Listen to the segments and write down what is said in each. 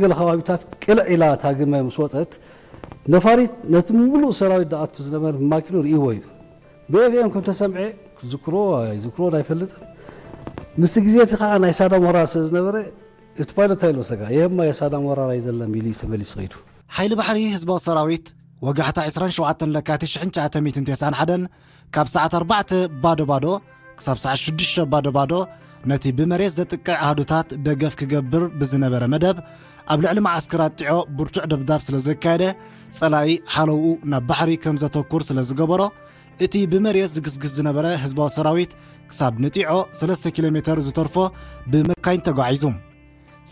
ገለ ከባቢታት ቅልዕ ኢላ እታ ግመ ምስ ወፀት፣ ነፋሪት ነቲ ሙሉእ ሰራዊት ዝኣቱ ዝነበረ ማኪኑ ርእይዎ እዩ። ብኤፍኤም ከም ተሰምዐ፣ ክዝክሮ ኣይዝክሮን ኣይፈልጥን። ምስቲ ግዜ እቲ ከዓ ናይ ሳዳም ወራር ስለ ዝነበረ፣ እቲ ፓይለት እንታይ ኢሉ መሰለካ? ይሄማ የሳዳም ወራር አይደለም ኢሉ እዩ ተመሊሱ ከይዱ። ሓይሊ ባሕሪ ህዝባዊ ሰራዊት ወጋሕታ ዕስራን ሸውዓተን ለካቲት ሽሕን ትሽዓተ ሚእትን ተስዓን ሓደን ካብ ሰዓት ኣርባዕተ ባዶ ባዶ ክሳብ ሰዓት ሽዱሽተ ባዶ ባዶ ነቲ ብመሬት ዘጥቅዕ ኣሃዱታት ደገፍ ክገብር ብዝነበረ መደብ፣ ኣብ ልዕሊ መዓስከር ኣጥጢዖ ብርቱዕ ደብዳብ ስለ ዘካየደ፣ ጸላኢ ሓለውኡ ናብ ባሕሪ ከም ዘተኩር ስለ ዝገበሮ፣ እቲ ብመሬት ዝግስግስ ዝነበረ ህዝባዊ ሰራዊት ክሳብ ንጢዖ ሰለስተ ኪሎ ሜተር ዝተርፎ ብመካይን ተጓዒዙ።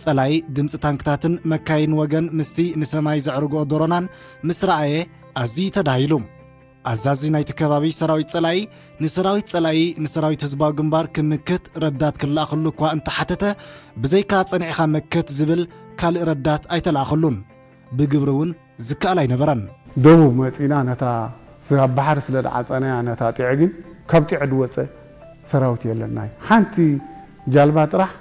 ጸላኢ ድምጺ ታንክታትን መካይን ወገን ምስቲ ንሰማይ ዘዕርግኦ ዶሮናን ምስ ረኣየ ኣዝዩ ተዳሂሉ። ኣዛዚ ናይቲ ከባቢ ሰራዊት ጸላኢ ንሰራዊት ጸላኢ ንሰራዊት ህዝባዊ ግንባር ክምክት ረዳት ክለኣኸሉ እኳ እንተሓተተ፣ ብዘይካ ጸኒዕኻ መክት ዝብል ካልእ ረዳት ኣይተለኣኸሉን። ብግብሪ እውን ዝከኣል ኣይነበረን። ደቡብ መጺና ነታ ስ-፣ ኣብ ባሕሪ ስለ ዝዓጸናያ ነታ ጢዖ ግን ካብ ጢዖ ዝወጸ ሰራዊት የለን። ናይ ሓንቲ ጃልባ ጥራሕ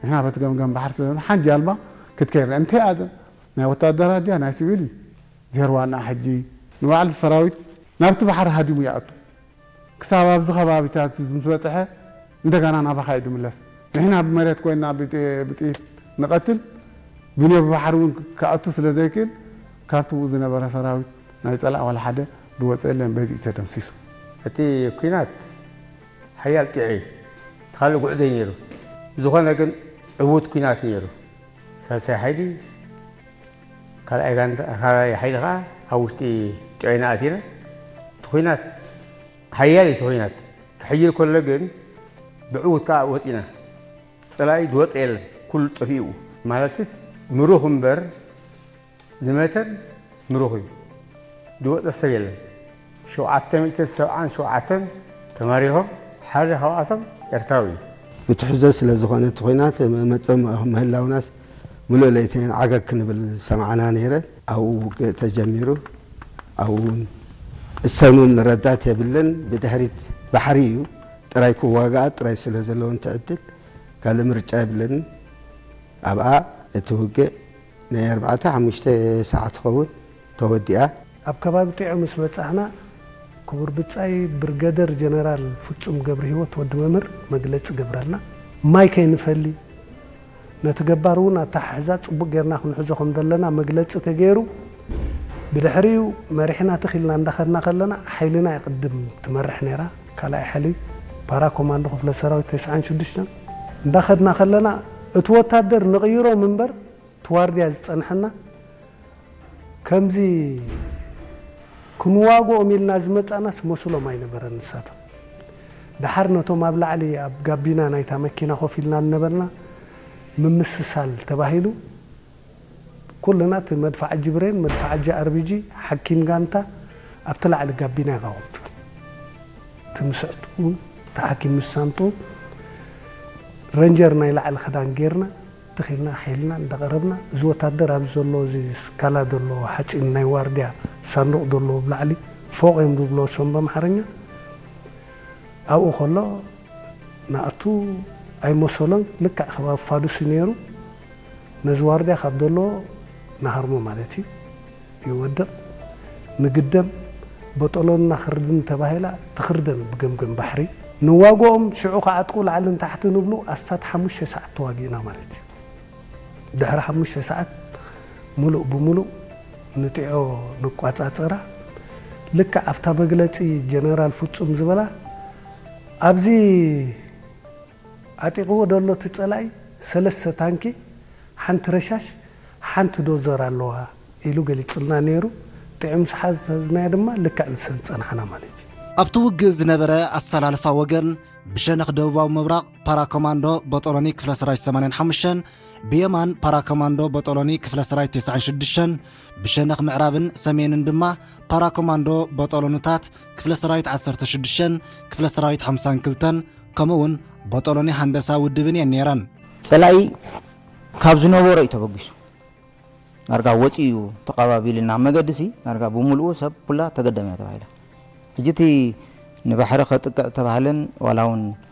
ንሕና በቲ ገምገም ባሕሪ ስለ ዘለና ሓንቲ ጃልባ ክትከይድ እንተ ኣዘ ናይ ወታደራት ድያ ናይ ሲቪል ዜርዋና ሕጂ ንባዕሉ ሰራዊት ናብቲ ባሕሪ ሃዲሙ ይኣቱ። ክሳብ ኣብዚ ከባቢታት ምስ በጽሐ እንደገና ናባኻ እዩ ዝምለስ። ንሕና ብመሬት ኮይና ብጥ-፣ ብጥይት ንቐትል፣ ብነ ብባሕሪ እውን ክኣቱ ስለ ዘይክእል ካብቲ ብኡ ዝነበረ ሰራዊት ናይ ጸላእ ዋላ ሓደ ዝወጸ የለን፣ በዚ እዩ ተደምሲሱ። እቲ ኲናት ሓያል ጢዖ እዩ። እቲ ካልእ ጉዕዞ እዩ ነይሩ። ዝኾነ ግን ዕዉት ኲናት እዩ ነይሩ። ሳልሳይ ሓይሊ፣ ካልኣይ ጋንታ፣ ካልኣይ ሓይሊ ኸዓ ኣብ ውሽጢ ጢዖ ኢና ኣቲና። እቲ ኲናት ሓያል እዩ፣ እቲ ኲናት ክሕይል ከሎ ግን ብዕዉት ከዓ ወፂና። ፀላኢ ዝወፀ የለን፣ ኩሉ ጠፊኡ። ማለት ምሩኽ እምበር ዝመተን ምሩኽ እዩ። ዝወፀ ሰብ የለን። ሸውዓተ ሚእትን ሰብዓን ሸውዓተን ተማሪኾም፣ ሓደ ካብኣቶም ኤርትራዊ እዩ። ብትሕዞ ስለ ዝኾነ እቲ ኹናት መጸም ምህላውናስ ምሉእ ለይተን ዓገግ ክንብል ዝሰማዕና ነይረ። ኣብኡ ውግእ ተጀሚሩ። ኣብኡ እውን እሰኑን ረዳት የብልን። ብድሕሪት ባሕሪ እዩ ጥራይ ክዋጋኣ ጥራይ ስለ ዘለዎን ትዕድል ካልእ ምርጫ የብለንን። ኣብኣ እቲ ውግእ ናይ ኣርባዕተ ሓሙሽተ ሰዓት ትኸውን ተወዲኣ። ኣብ ከባቢ ጢዖ ምስ በጻሕና፣ ክቡር ብጻይ ብርገደር ጀነራል ፍጹም ገብረሂወት ወዲ መምህር መግለጺ ገብረልና። ማይ ከይንፈሊ፣ ነቲ ገባር እውን ኣተሓሕዛ ጽቡቕ ጌርና ክንሕዞ ከም ዘለና መግለጺ ተገይሩ። ብድሕሪኡ መሪሕና ትኽ ኢልና እንዳኸድና ከለና፣ ሓይልና እያ ቅድም ትመርሕ ነይራ። ካልኣይ ሓይሊ ፓራ ኮማንዶ ክፍለ ሰራዊት ተስዓን ሽዱሽተን እንዳኸድና ከለና፣ እቲ ወታደር ንቕይሮም እምበር፣ እቲ ዋርድያ ዝጸንሐና፣ ከምዚ ክንዋግኦም ኢልና ዝመጻናስ መስሎም ኣይነበረን ንሳቶም። ደሓር ነቶም ኣብ ላዕሊ ኣብ ጋቢና ናይታ መኪና ኮፍ ኢልና ዝነበርና፣ ምምስሳል ተባሂሉ፣ ኩልና እቲ መድፍዓጂ ብሬን፣ መድፍዓጂ ኣርቢጂ፣ ሓኪም ጋንታ ኣብቲ ላዕሊ ጋቢና ይቐውም። እቲ ምስዕጡ፣ እቲ ሓኪም ምስ ሳንጡ፣ ረንጀር ናይ ላዕሊ ክዳን ጌርና፣ ትኽ ኢልና ሓይልና እንዳቐረብና፣ እዚ ወታደር ኣብዚ ዘሎ፣ እዚ ስካላ ዘሎ ሓጺን ናይ ዋርድያ ሳንዱቕ ዘለዎ ብላዕሊ፣ ፎቕ እዮም ዝብሎ እሶም ብኣምሓርኛ። ኣብኡ ከሎ ንኣቱ ኣይመሰሎን፣ ልክዕ ከባቢ ፋዱስ እዩ ነይሩ። ነዚ ዋርድያ ካብ ዘሎ ንሃርሞ ማለት እዩ። ይወድቕ፣ ንግደም፣ በጠሎንና ክርድን ተባሂላ ትኽርደን ብገምገም ባሕሪ። ንዋግኦም ሽዑ ክዓጥቁ ላዕልን ታሕትን ንብሉ ኣስታት ሓሙሽተ ሰዓት ተዋጊእና ማለት እዩ። ድሕሪ ሓሙሽተ ሰዓት ምሉእ ብምሉእ ንጢዖ ንቋጻጸራ። ልክዕ ኣብታ መግለጺ ጀነራል ፍጹም ዝበላ፣ ኣብዚ ዓጢቕዎ ዘሎ እቲ ጸላኢ ሰለስተ ታንኪ፣ ሓንቲ ረሻሽ፣ ሓንቲ ዶዘር ኣለዋ ኢሉ ገሊጹልና ነይሩ። ጢዖ ምስ ሓዝናዮ ድማ ልክዕ ንሰን ጸናሕና ማለት እዩ። ኣብቲ ውግእ ዝነበረ ኣሰላልፋ ወገን ብሸነኽ ደቡባዊ ምብራቕ ፓራኮማንዶ ቦጦሎኒ ክፍለ ሰራዊት ሰማንያን ሓሙሽተን፣ ብየማን ፓራኮማንዶ ቦጦሎኒ ክፍለ ሰራዊት ተስዓን ሽዱሽተን፣ ብሸነኽ ምዕራብን ሰሜንን ድማ ፓራኮማንዶ ቦጦሎንታት ክፍለ ሰራዊት ዓሰርተ ሽዱሽተን፣ ክፍለ ሰራዊት ሓምሳን ክልተን፣ ከምኡ እውን ቦጦሎኒ ሃንደሳ ውድብን እየን ነይረን። ጸላኢ ካብ ዝነበሮ እዩ ተበጊሱ። ዳርጋ ወጺኡ ተቐባቢልና መገዲ ሲ ዳርጋ ብምሉኡ ሰብ ኩላ ተገደም እያ ተባሂላ። ሕጂ እቲ ንባሕሪ ከጥቅዕ ተባህለን ዋላ እውን